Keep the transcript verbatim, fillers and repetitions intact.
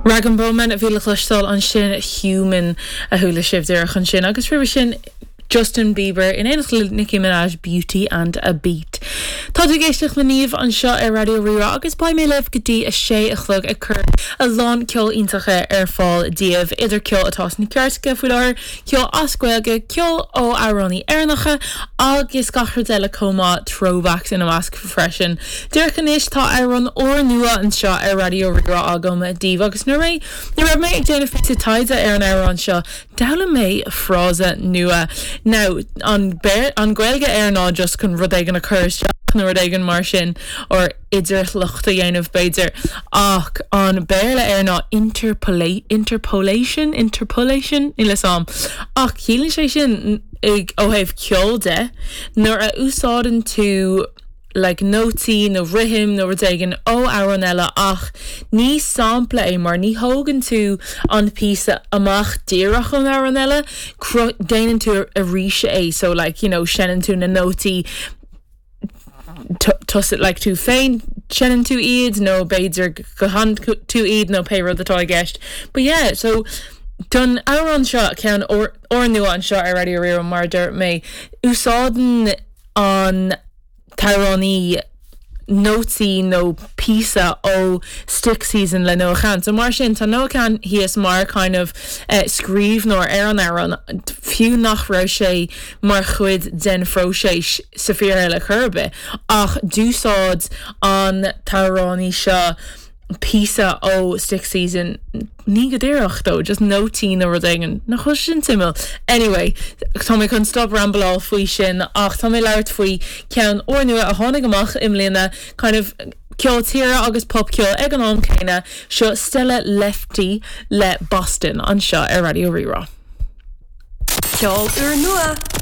Rag'n'Bone Man a bhí le cloisteáil ansin Human a chuala sibh díreach ansin agus roimhe sin Justin Bieber in éineacht le Nicki Minaj Beauty and a Beat. Tá tú ag éisteacht le Niamh anseo ar Raidió Rí-Rá agus beidh mé libh go dtí a sé a chlog ag cur a lán ceol iontach ar fáil daoibh idir ceol atá sna cairteacha faoi láthair, ceol as Gaeilge, ceol ó amhránaithe Éireannacha agus gach rud eile chomh maith throwbacks ina measc freisin. Díreach anois tá amhrán úrnua anseo ar Raidió Rí-Rá agam daoibh agus nuair nuair a bhí mé ag déanamh píosa taighde ar an amhrán seo, d'fhoghlaim mé frása nua. Now an an Ghaeilge air ná just chun rud éigin a chur isteach nó rud éigin mar sin or idirshliocht a dhéanamh b'fhéidir ach an Béarla air ná interpolate interpolation interpolation níl a fhios agam ach ciallaíonn sé sin ag ó thaobh ceol de nuair a úsáideann tú like nótaí nó rithim nó rud éigin ó amhrán eile ach ní sampla é mar ní thógann tú an píosa amach díreach ón amhrán eile déanann tú arís é so like you know seinneann tú na nótaí tusa like tú féin seinneann tú iad nó b'fhéidir guthann tú iad nó pé rud atá i gceist. But yeah, so don amhrán seo ceann úrnua anseo ar Raidió Rí-Rá mar dúirt mé úsáideann an t-amhránaí nótaí nó píosa ó Stick Season le Noah Kahan. So mar sin tá Noah Kahan thíos mar kind of uh, scríbhneoir ar an amhrán fiú nach raibh sé mar chuid den phróiseas sa fíorshaol ar chor ar bith ach d'úsáid an t-amhránaí seo píosa ó Stick Season ní go díreach dó, just nótaí nó rud éigin nach bhfuil sin suimiúil. Anyway, tá mé chun stop rambleáil faoi sin ach tá mé labhairt faoi ceann úrnua a tháinig amach i mbliana kind of ceol tíre agus popcheol ag an am céanna seo Stella Lefty le Boston anseo ar Raidió Rí-Rá. Ceol úrnua.